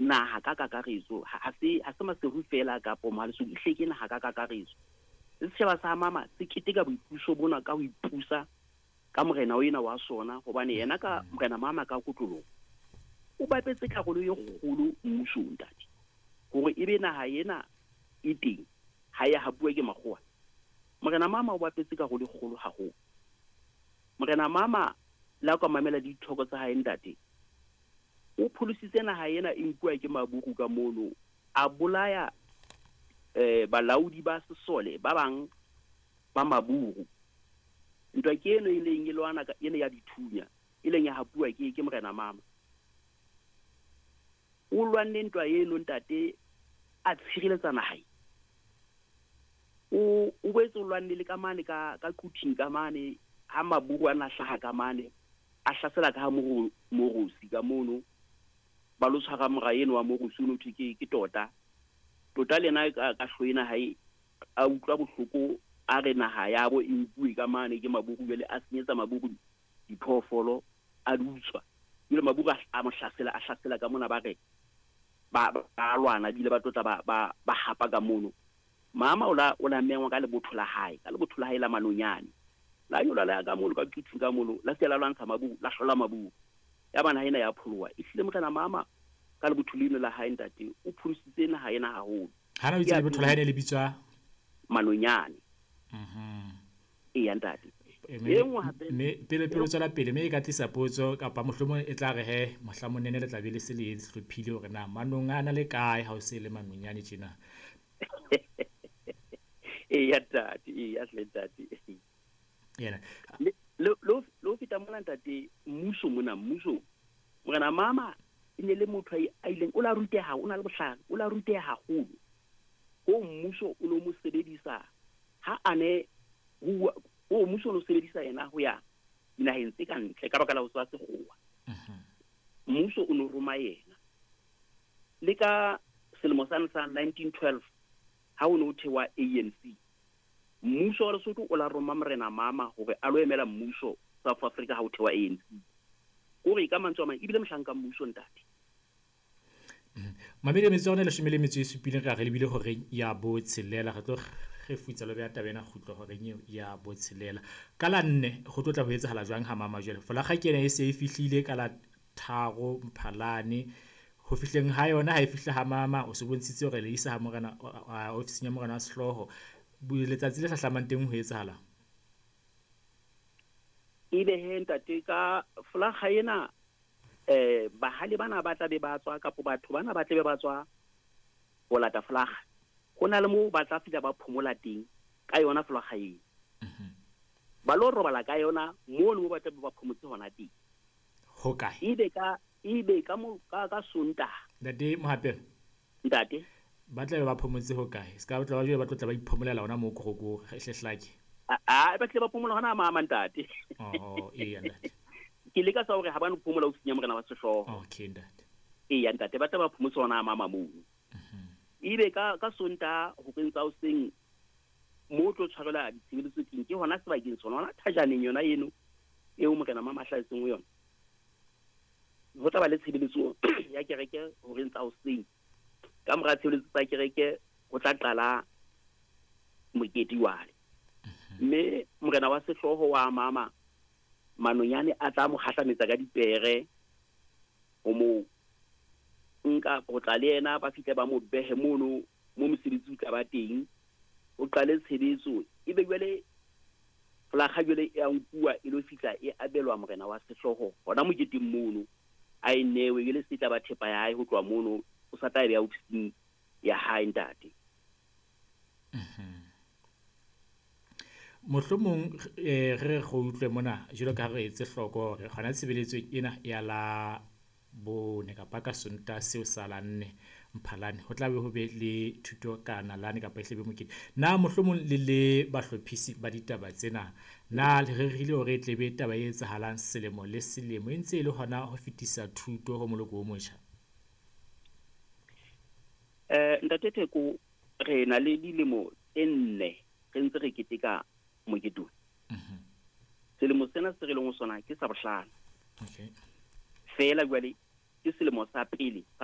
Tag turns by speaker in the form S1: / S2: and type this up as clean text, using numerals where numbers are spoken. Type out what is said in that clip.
S1: Naha ka kakaretso, ha se Maseru fela kapo Mohale'shoek, ehlile ke naha ka kakaretso. Le setjhaba sa Mama se keteka boipuso bona ka ho ipusa ka morena o ena wa sona, hobane yena ka morena Mama ka kotloloho o bapetse karolo e kgolo mmusong, ntate, hore ebe naha ena e teng ha ya hapuwa ke makgowa. Morena Mama o bapetse karolo e kgolo haholo. Morena Mama le ha ka mamela dithoko tsa hae, ntate, o pholositse naha ena e nkuwa ke maburu ka mono, a bolaya balaodi ba sesole ba bang ba maburu. Ntwa ke eno e leng e lwana ene ya dithunya e leng ya hapuwa ke morena Mama. O lwanne ntwa eno, ntate, a tshireletsa naha. O boetse o lwanne le ka mane ka Quthing ka mane, ha maburu a na hlaha ka mane, a hlasela ka ha Morosi ka mono, ba lo tshwara mora eno wa Morosi, o no thwe ke Tota. Tota le yena ka hlo ena hae a utlwa bohloko, a re naha ya bo e nkuwe ka mane ke maburu, jwale a senyetsa maburu diphoofolo, a di utswa. Jwale maburu a mo hlasela, a hlasela ka mona, ba re ba lwana, bile ba tlotla ba hapa ka mono. Mama o la mengwa ka lebotho la hae, ka lebotho la hae la Manonyane, la nyola la ya ka mono ka Quthing ka mono, la se la lwantsha maburu, la hlola maburu, ya ba naha ena ya pholoha. Ehlile morena Mama ka lebotho leno la hae, ntate, o pholositse naha ena haholo.
S2: Hana o itse lebotho la hae ne le bitswa?
S1: Manonyane. Eya, ntate. E nngwe hape.
S2: Mme pele o tswela pele, mme e ka tlisa potso kapa mohlomong e tla re he mohla le tla be le se le hlophile hore na manong a na le kae ha o se le Manonyane tjena.
S1: Eya, ntate, eya hle, ntate.
S2: Yena.
S1: Le ho feta mona, ntate, mmuso mona, mmuso, morena Mama e ne le motho a ileng o la ruteha, o na le bohlale, o la ruteha haholo ho mmuso, o no mo sebedisa ha a ne o mmuso o no sebedisa yena ho ya dinaheng tse ka ntle ka baka la ho tswa sekgowa. Mmuso o no roma yena le ka selemo sane sa 1912 ha o ne o thewa ANC. Mmuso wa Lesotho o la roma morena Mama hore a lo emela mmuso South Africa ha o thewa ANC. Kore ka mantswe a mang, ebile mohlanka mmuso, ntate.
S2: Mamedi, metso ya rona 17, re a re lebile horeng ya 6. Re tlo kgefutsa lo beha taba ena kgutlo horeng eo ya 6. Ka la 4 ho tlo tla ho etsahala jwang ha Mama? Jwale folakga ke ena e se e fihlile ka la 3 Mphalane. Ho fihleng ha yona, ha e fihla ha Mama, o se bontshitse hore le isa ha morena, ofising ya morena wa sehlooho. Letsatsi le hlahlamang teng ho etsahala?
S1: Ebe he, ntate, ka folakga ena, bahale bana ba tla be ba tswa, kapo batho bana ba tla be ba tswa ho lata folakga, ho na le moo ba tla fihla ba phomola teng ka yona folakga eo, ba lo robala ka yona mono mo ba tla be ba phomotse hona teng.
S2: Ho kae?
S1: Ebe ka mo ka Sontaha.
S2: Ntate Mohapelo.
S1: Ntate.
S2: Ba tla be ba phomotse ho kae? Se ka tla ba jwale ba tlo tla ba iphomolela hona moo koroko hlehlake?
S1: A ba tle ba phomola hona Mama, ntate.
S2: Oh, eya, ntate.
S1: Ke leka sa hore ha ba no phomola ofising ya morena wa sehlooho.
S2: Okay, ntate.
S1: Eya, ntate, ba tla ba phomotse hona Mama mono. Ebe ka Sontaha horeng tsa hoseng mo tlo tshwarelwa ditshebeletso teng ke hona sebakeng sona, hona thajaneng yona eno eo morena Mama a hlahetseng ho yona. Ho tla ba le tshebeletso ya kereke horeng tsa hoseng. Ka mora tshebeletso tsa kereke ho tla qala mokete wale, mme morena wa sehlooho wa Mama Manonyane a tla mo kgahlametsa ka dipere ho mo nka ho tla le yena, ba fihle ba mo behe mono mo mosebetsi o tla ba teng, o qale tshebetso. Ebe jwale folakga jwale e a nkuwa e lo fihla e abelwa morena wa sehlooho hona moketeng mono, a e newe. Jwale se tla ba thepa ya hae ho tloha mono, o sa tla e beha ofising ya hae, ntate.
S2: Mohlomong re re utlwe mona jwalo ka ha re etse hloko hore hona tshebeletsong ena ya la 4 kapa ka Sontaha seo sa la 4 Mphalane ho tla be ho be le thuto ka nalane kapa ehle be mokete. Na mohlomong le le bahlophisi ba ditaba tsena, na le rerile hore e tle be taba e etsahalang selemo le selemo, e ntse e le hona ho fetisa thuto ho moloko o motjha?
S1: Ntate Theko, re na le dilemo tse 4 re ntse re keteka mokete ona. Selemo sena se re leng ho sona ke sa bohlano. Feela jwale ke selemo sa pele sa